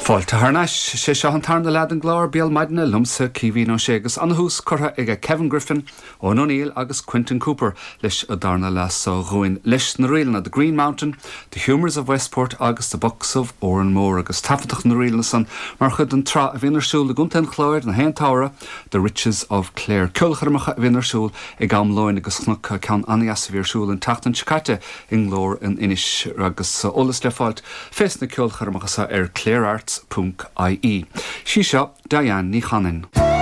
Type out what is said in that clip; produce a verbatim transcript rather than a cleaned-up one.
Fáilte thar n-ais sé seo an tarna leath den gclár Béal Maidine liomsa Caoimhín Ó Sé agus an-tús curtha ag Kevin Griffin Eoin O'Neill agus Quentin Cooper leis an darna leath seo dhúinn leis na ríleanna The Green Mountain, The Humours of Westport agus The Bucks of Oranmore agus taifeadadh na ríleanna san mar chuid den tsraith a bhíonn ar siúl i gContae an Chláir na haon samhradh The Riches of Clare. Ceolchoirmeacha a bhíonn ar siúl ag am lóin agus chonac ceann an-deas a bhí ar siúl an tseachtain seo caite i nGlór in Inis agus eolas le fáilt fés na ceolchoirmeacha ar clarearts.ie. Sí seo Diane Ní Chanainn.